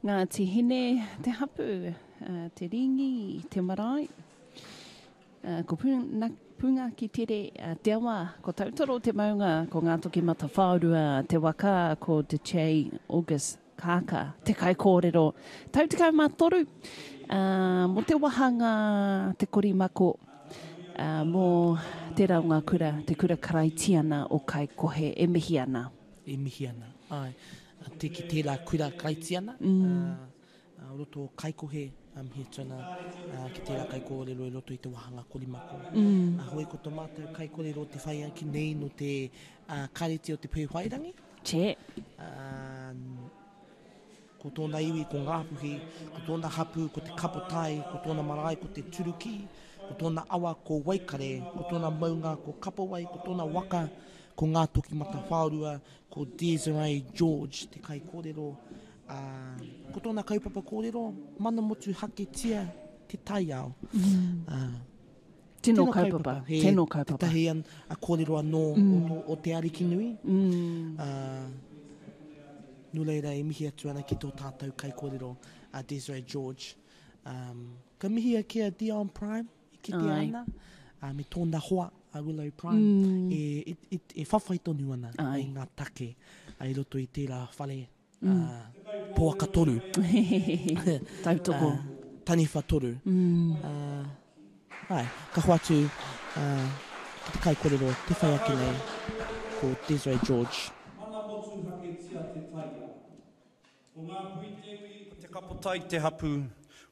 Ngāti Hine te hapū, Te Rīngi te marae, ko Pungakitere te awa, ko Tautoro te maunga, ko Ngātokimatawhaorua te waka, ko Dechey August Kākā te kaikōrero. Tau 13 mō te wāhanga Te Korimako mō tērā o ngā kura, te kura karaitiana o Kaikohe e mihi ana. E mihi ana, āe. Te ki tērā kura Karaitiana, o roto o Kaikohe, mihi atu ana ki tērā kaikōrero i roto i te wāhanga korimako. Hoi ko tō mātou kaikōrero te whai ake nei nō te Kāreti o Te Pēwhairangi. Che. Ko tōna iwi ko Ngāpuhi, ko tōna hapū ko Te Kapotai, ko tōna marae ko Te Turuki, ko tōna awa ko Waikare, ko tōna maunga ko Kapowai, ko tōna waka ko Ngātokimatawhaorua, ko Desiree George te kaikōrero, ā, ko tōna kaupapa kōrero, Mana motuhaketia te taiao. Ā, Tino kaupapa, he, tino kaupapa. Tētahi an, a kōrero anō mm. o, o te Arikinui. Mm. Ā, nō reira e mihi atu ana ki tō tātou kaikōrero a Desiree George. Um, ka mihia ki a Dion Prime e kitea ana, uh, me tōna hoa a Willow Prime mm. e, e, e, e whawhai tonu ana Ai. i ngā take i roto i tērā whare mm. uh, poaka toru. Tautoko. Uh, taniwha toru. Mm. Uh, ai, ka hoatu uh, ki te kaikorero te whai ake nei, ko Desiree George. Mana motuhaketia te taiao. Ko Ngā Puhi te iwi, ko Te Kapotai te hapū,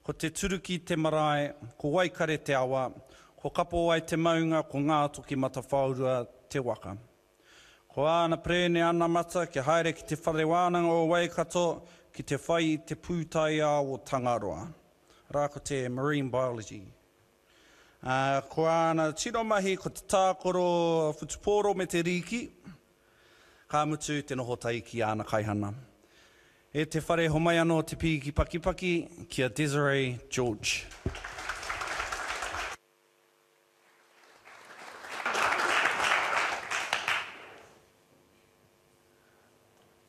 ko Te Turuki te marae, ko Waikare te awa, ko Kapowai te maunga, ko Ngātokimatawhaorua te waka. Ko āna perēne anamata kia haere ki Te Whare Wānanga o Waikato ki te whai i te pūtaiao o Tangaroa, arā ko te Marine Biology. Ā, ko āna tino mahi ko te tākaro whutupōro me te rīki, Ka mutu te noho tahi ki āna kaihana. E te whare homai anō te pīki pakipaki ki a Desiree George.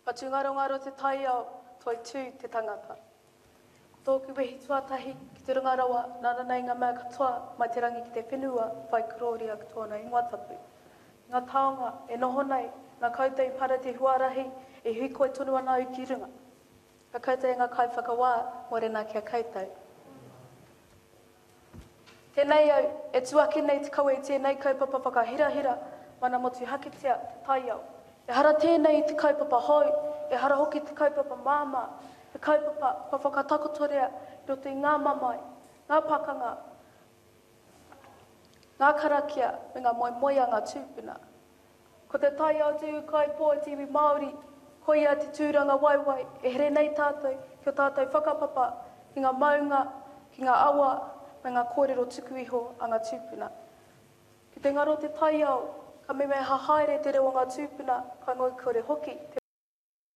Whatungarongaro te taiao, toitū te tangata. Ko tōku wehi tuatahi ki te runga rawa nāna nei ngā mea katoa mai te rangi ki te whenua whai korōria ki tōna ingoa tapu. I ngā taonga e noho nei, nā koutou i para te huarahi e hīkoi tonu ana au ki runga. Ka koutou e ngā kaiwhakawā, mōrena ki a koutou. Tēnei au, e tū ake nei te kawe i tēnei kaupapa whakahirahira, mana motuhaketia te taiao. Ehara tēnei i te kaupapa hou, ehara hoki te kaupapa māmā, he kaupapa kua whakatakotoria i roto i ngā mamae, ngā pakanga, ngā karakia me ngā moemoeā a ngā tūpuna. Ko te taiao te ūkaipō e te iwi Māori, koia te tūranga waewae e here nei tātou ki ō tātou whakapapa, ki ngā maunga, ki ngā awa, me ngā kōrero tuku iho a ngā tūpuna. Ki te ngaro te taiao, ka memeha haere te reo o ngā tūpuna, ka ngoikore hoki te.